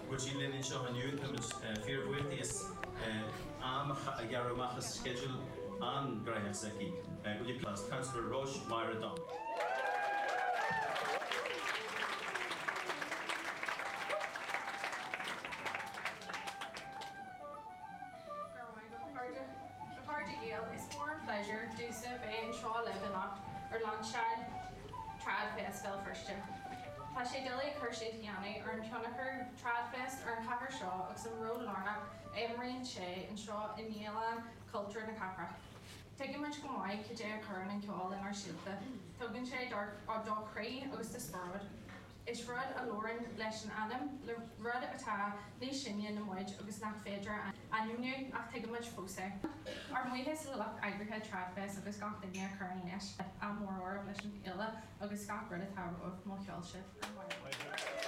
Go bhfuil sí linn anseo inniu. Táimid fíorbhuíoch di as am a ghearradh amach as sceideal an-ghnóthach s'aici. Will you please, Councillor Róis Máire Donnelly. Go raibh maith agat, a chairde. A chairde Gael, is mór an pléisiúr domhsa bheith anseo libh anocht ar lainseáil TradFest Bhéal Feirste. Tá sé doiligh cur síos a dhéanamh ar an tionchar TradFest ar an chathair seo agus an ról lárnach a imríonn sé anseo i ndialann cultúir na cathrach. Tuigimid go maith cad é a chuireann an ceol inár saolta. Tugann sé do chroí agus do spiorad. Is rud a labhrann leis an anam, le rud atá níos sine ná muid agus nach féidir a ainmniú, ach tuigimid fós é. Ár mbuíochas le lucht eagraithe TradFest agus gach duine a chuireann leis. Ádh mór oraibh leis an fhéile agus gach rud atá romhaibh. Mo cheol sibh. Go raibh maith agat.